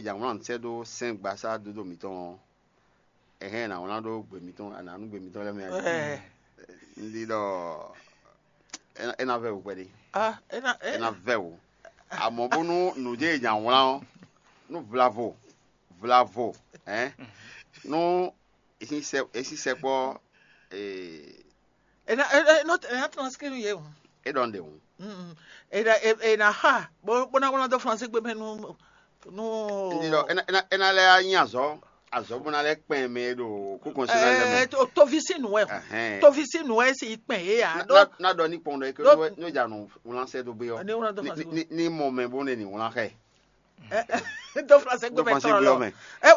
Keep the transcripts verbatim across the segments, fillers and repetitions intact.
È jǎ wlán sɛ́ dó sɛ́n gbasá dódó mǐtɔn ɔ́, è hɛn ɛ nǎ wlán ɖó gbe mǐtɔn, a nǎ nú gbe mǐtɔn lɛ́ɛ mɛ ɔ́. Un ɖi ɖɔ é ná vɛ́ wǔ kpɛɖé. É ná vɛ́ wǔ. Amɔ̌ bónú nǔ jɛ́n è jǎ wlán ɔ́, nú vlavo vlavo hɛn nú è sín sɛkpɔ́. É ná é ná é ná tɔn sí nú yě o. É ɖɔ un ɖe hǔn. È ná è- è ná xa bó bó ná wlán dó fransé gbé mɛ nú nú. Ndidɔ é ná- é ná- é ná lɛ́ nyi azɔ̌ azɔ̌ bó ná lɛ́ kpɛn mɛ e ɖo kúkɔn sí lɛ mɛ. Ɛ, to- tovi sín nǔ wɛ o. Ɛhɛn. Tovi sín nǔ wɛ si kpɛn yé ya Na- ɖó na- na ɖɔ ní kpɔn ɖɔ eke Ɖó- nú é jà nù wlán sɛ dó gbé ɔ. Ní wlán dó fransé gbé. Ní mɔ mɛ bó ne ní wlán xɛ. Dó fransé gbé mɛ tɔn lɔ.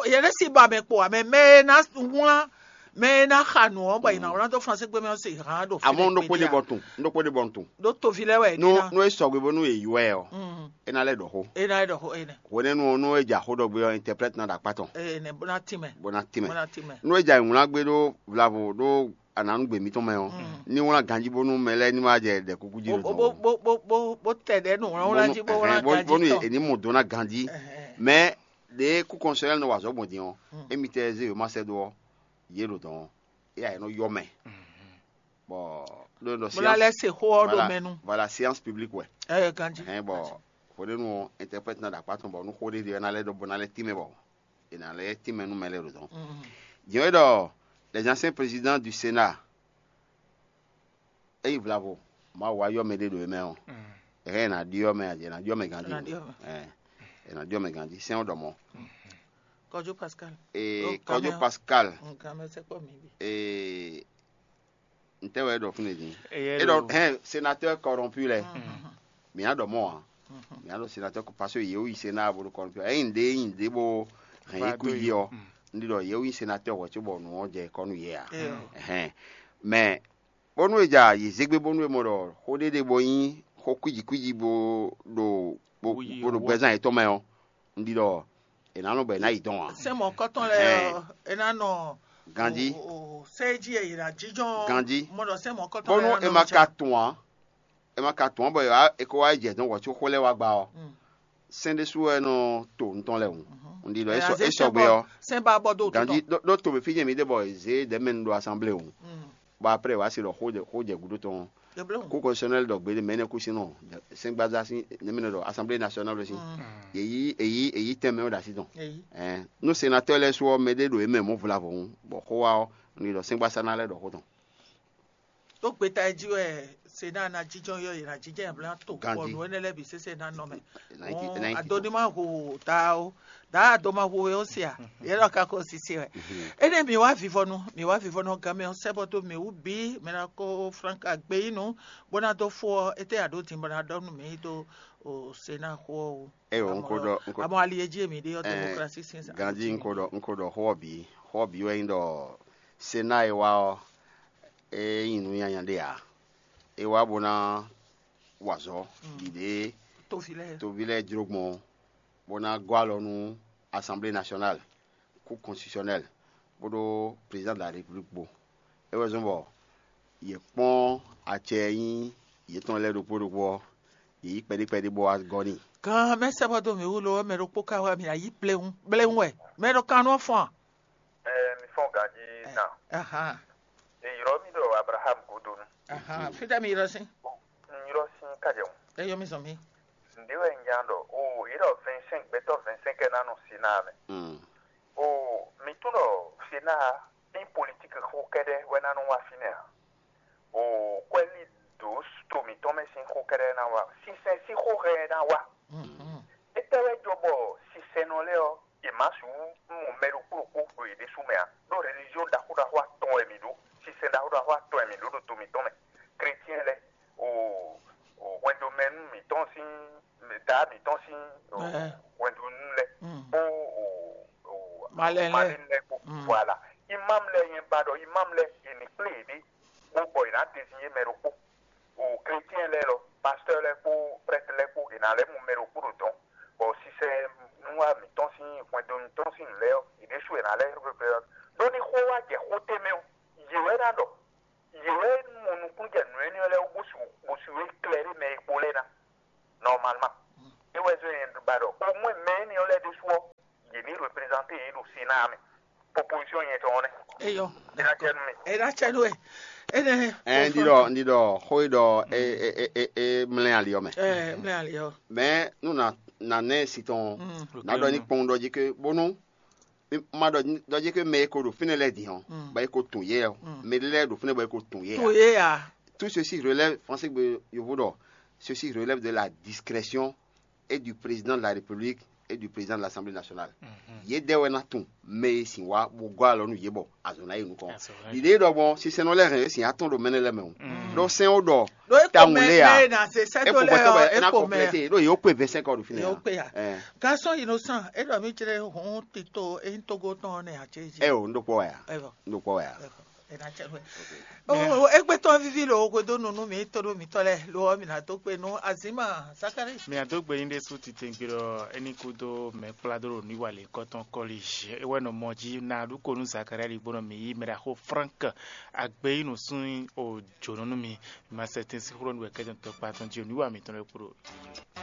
Yɛn si ba mɛ kpo amɛ mɛ e ná wlán mɛ e ná xa nǔ ɔ́ bɔ yě ná wlán dó fransé gbé mɛ ɔ́ se hán ɖo fínɛ́. Àmọ́ un ɖokpó ɖe bɔ tun un ɖokpó ɖe bɔ tun. Ɖó tovi lɛ́ wɛ é nú ná. Nú é sɔgbe bónú è yú ɛ ɔ́, é ná lɛ́ ɖɔ xó. É ná lɛ́ ɖɔ xó é nɛ. Hwenɛ́nu ɔ́, nú é jɛ xó ɖɔ gbé ɔ́, intɛplɛ́t ná ɖo akpá tɔn. É nɛ bó ná tín mɛ. Bó ná tín mɛ. Bó ná tín mɛ. Nú é jɛ wlán gbé ɖó vlavo ɖó anǎnúgbè mǐtɔn mɛ ɔ́, ní wlán ganjí bónú mɛ lɛ́ɛ ní wá jɛ ɖɛ kúkú jí ɖo dɔn. Bó bó bó bó bó tɛ ɖɛ nú wlán wlán jí bó wlán ganjí tɔn. Bónú è ní mɔ do ná ganjí. Mɛ ɖě kúkɔnsɔ́yɛ́ nɔ wa azɔ̌ gbɔn din ɔ́, émitɛ́ zé wěma sɛ́ dó ɔ́, yě ɖo dɔn ɔ́, éyɛ́ ɛ nɔ yɔ mɛ. Bɔ ɖó nɔ Bó ná lɛ́ se xó ɔ́ ɖo mɛ nu. Voilà, séance publique wɛ. Ɛ ganjí. Hɛn bɔ hwenɛ́nu ɔ́, interprète ná ɖo akpá tɔn bɔ nú xó ɖé ɖe ɔ́ ná lɛ́ ɖɔ bó ná lɛ́ tínmɛ bɔ è nǎ lɛ́ tínmɛ nú mɛ lɛ́ɛ ɖo dɔn. Jɛ́n é ɖɔ les anciens présidents du Sénat, é nyí vlavo, Mawu wá yɔ mɛ ɖé ɖo é mɛ ɔ́, ɛhɛn è nǎ ɖyɔ́ mɛ, è nǎ ɖyɔ́ mɛ ganjí. È nǎ ɖyɔ́ mɛ ganjí, sɛ́n ɔ́ ɖɔ mɔ̌. Kɔjó Pascal. Ee, Kɔjó Pascal. Nǹkan mẹ́sẹ̀ pọ̀ mí bi. Ee, ntɛ́ wɛ é ɖɔ fúnɛ́ din? É ɖɔ hɛn sénateur corrompu lɛ. Mǐ á ɖɔ mɔ̌ ǎ. Mǐ á ɖɔ sénateur parce que yě wú yi sénat bó ɖo corrompu. Ényí ŋɖé ényí ŋɖé bó hɛn yě kú yi ɔ́, un ɖi ɖɔ yě wú yi sénateur hwɛ̌ cóbɔ nǔ ɔ́ jɛ kɔ́ nú yě ǎ. Hɛn mɛ bónú è ja yě zé gbé bónú è mɔ ɖɔ xó ɖé ɖé bó nyí xó kwíji kwíji bó ɖo bó ɖo gbɛzán yětɔn mɛ ɔ́, un ɖi ɖɔ è nǎ nɔ bɔ è nǎ yi dɔn ǎ. Sɛ́n mɔ̌kɔtɔn lɛ́ɛ ɔ́, é ná nɔ ganjí. Sɛ́ jí è yǐ ná jínjɔ́n ganjí. Mɔ ɖɔ sɛ́n mɔ̌kɔtɔn bónú lɛ́ɛ é ná ma nɔ ka tɔn ǎ, é ma ka tɔn ǎ bɔ è wá é kó wá yi jɛ dɔn hwɛ̌ có xó lɛ́ɛ wá gba ɔ́, sɛ́n ɖésú wɛ nɔ to nǔ tɔn lɛ́ɛ hǔn. Un ɖi ɖɔ é sɔgbe ɔ́, sɛ́n ba bɔ dó ganjí ɖó to mɛ fí jɛ mǐ ɖe bɔ è zě ɖɛ̌mɛnu ɖo asanblée hǔn. Bɔ après wǎ se ɖɔ xó jɛ xó jɛ gǔdo tɔn. Kú kɔnsɛnɛli ɖɔ gbeɖé mɛ nɛ kú sin nɔ sɛngbazá sín nɛmɛnɛ ɖɔ assemblée nationale sín. Èyí èyí èyí tɛn mɛ wɛ ɖo así tɔn. Ɛn nú sénateur lɛ́ɛ sú ɔ́ mɛ ɖé ɖo yě mɛ mɔ̌ vlavo hǔn bɔ xó wá ɔ́, un ɖi ɖɔ sɛngbasá ná lɛ́ ɖɔ xó tɔn. Tó gbeta e jí wɛ sena ná jínjɔ́n yɔ yě ná jínjɔ́n yě ná to bɔ nǔ énɛ́ lɛ́ɛ bǐ sésé ná nɔ mɛ. Adoni má hu ta ó daa ado má hu wé ó sia yɛ lɔ ka ko sisi wɛ. Énɛ́ mi wá vivɔnu mi wá vivɔnu gán mɛ ɔ́ sɛ́ bɔ dó mi wú bǐ mɛ ná kó franka gbé yí nu bó ná dó fó ɔ́ étɛ́ a ɖǒ din bɔ ná ɖɔ nú mi dó o sena xó ɔ́ wú. Eyo n ko ɖɔ n ko amɔ ali e jí èmi ɖe ɔ́ demokrasi sin sa. Ganji n ko ɖɔ n ko ɖɔ xó ɔ́ bǐ xó ɔ́ bǐ wɛ nyí ɖɔ sena e wá ɔ́ é nyí nǔ nyanya ɖé ǎ. É wá bó ná wa azɔ̌ ɖiɖe toví lɛ́ɛ jló gbɔn bó ná gɔ́ alɔ nú assemblée nationale, cour constitutionnelle kpódó président de la république kpó. É wɛ zɔ́n bɔ yě kpɔ́n acɛ e nyí yětɔn lɛ́ɛ ɖokpó ɖokpó ɔ́, yě yí kpɛɖí kpɛɖí bó wá gɔ́ n'i. Gan mɛ sɛbɔ dó mǐ wú lo wɛ mɛ ɖokpó ka wɛ mǐ ná yí bléwún bléwún wɛ mɛ ɖo kan nɔ fɔn. Ɛ mi fɔn ganjí na. Ahan. E yrɔ mi ɖo Abraham godonu. Ahan. Fitɛ mi yrɔ sin. N yrɔ sin kajɛ ŋu. E yɔ mi zɔn mi. Nde wɛ n nya ɖɔ o yi ɖɔ vingt-cinq gbɛtɔ vingt-cinq ɛ na nɔ si na mɛ. Mm. O mi tún ɖɔ si na ní politique xó kɛɖɛ wɛ na nɔ wá fínɛ́ a? O kwɛ́lí ɖǒ to mǐtɔn mɛ sín xó kɛ́ɖɛ́ ná wá, sinsɛn sín xó hɛn ná wá. Étɛ́ wɛ jɔ bɔ sinsɛnnɔ lɛ́ɛ ɔ́, yě má sixú mɔ mɛ ɖokpó ɖokpó ɖo yě ɖésú mɛ ǎ, ɖó religion ɖaxó ɖaxó atɔn wɛ mǐ ɖó, sinsɛn ɖaxó ɖaxó atɔn wɛ mǐ ɖó ɖo to mǐtɔn mɛ. Chrétien lɛ́ɛ, o o hwɛndomɛnú mǐtɔn sín, dǎ mǐtɔn sín o hwɛndonu lɛ́ɛ, kpó o o malɛnu lɛ́ɛ kpó, voilà. Imam lɛ́ɛ nyɛ ba ɖɔ imam lɛ́ɛ yě ní kplé yěɖée bó bɔ yě ná dezinyé mɛ ɖokpó. O chrétien lɛ́ɛ lɔ, pasteur lɛ́ɛ kpó prêtre lɛ́ɛ kpó, è nǎ lɛ́ mɔ mɛ ɖokpó ɖo dɔ̌n, bɔ sisɛ nú wá mǐtɔn sín hwɛndo mǐtɔn sín nǔ lɛ́ɛ ɔ́, yě ɖésú è nǎ lɛ́ ɖó ní xó wá jɛ xó tɛ́nmɛ ɔ́, yě wɛ ná ɖɔ, yě wɛ mɔ nukúnnú jɛ nǔ énɛ́ ɔ́ lɛ́ɛ wú bó su bó su é klɛ́ ɖé mɛ e kpo lɛ́ɛ ná. Normalement, é wɛ zɔ́n nyɛ ba ɖɔ au moins mɛ énɛ́ ɔ́ lɛ́ɛ ɖésú ɔ́, Représenter yě ɖo Sénat mɛ. Proposition nyɛ tɔn nɛ. Eyɔ. Ena tiɛ nu mi. Ena tiɛ nu ɛ. Ene. Ɛn, ndi ɖɔ ndi ɖɔ xó yi ɖɔ e e e e e mlɛ ali ɔ́ mɛ. Ɛ mlɛ ali ɔ. Mɛ nu na na nɛ si tɔn na ɖɔ ní kpɔn ɖɔ jí ke bónú ma ɖɔ jí ke mɛ e ko ɖo fínɛ́ lɛ́ɛ din ɔ́, bɔ e ko tun yɛ ɔ́, mɛ ɖé lɛ́ɛ ɖo fínɛ́ bɔ e ko tun yɛ. To ye ya. Tout ceci relève, français gbe yovo ɖɔ, ceci relève de la discrétion et du président de la République et du président de l'Assemblée nationale. Yě dɛ wɛ ná tún mɛ e sin wá bó gɔ́ alɔ nú yě bɔ azɔ̌ ná yi nukɔn. Ɖiɖe ɖɔ gbɔn sinsɛnnɔ lɛ́ɛ hɛn yě sin atɔn ɖo mɛnɛ lɛ́ɛ mɛ o. Ɖó sɛn ó ɖɔ ɖo e ko tawun mɛ lé a mɛ na se sɛ e to ko lɛ bɛtɛ ɔ bɔ e ɛ ná ko mɛ kɔnplɛte ɖó yě ó kpe vingt-cinq heures ɖo fínɛ́. Yě ó kpe ya. Ɛ. Garçon innocent, e ɖɔ mi jlɛ hun tito e nyí togo tɔn nɛ a jɛ zi. Ɛ o, n ɖo kpɔ wɛ a. Ɛ bɔ. N ɖo kpɔ wɛ a. Ɛ bɔ. Ena cɛ nú ɛ. O egbetɔ vivi lo hweɖó nu nú mi to ɖo mitɔ lɛ lo ɔ mi na do gbe nú azima Zakari. Mi a do gbe nyi ɖe sú titengbe ɖɔ eni kudo mɛ kplá dó ɖo nuwa le kɔtɔn kɔli ewɛ nɔ mɔ jí na ɖu ko nú Zakari ali gbɔnɔ mi yi mɛ ɖaxó Frank agbe yi nu sún o jǒnɔ nú mi ma sɛ tin sí xlɔ nu wɛ kɛjɔ tɔ kpa tɔn jí o nuwa mitɔn lɛ kpo ɖo.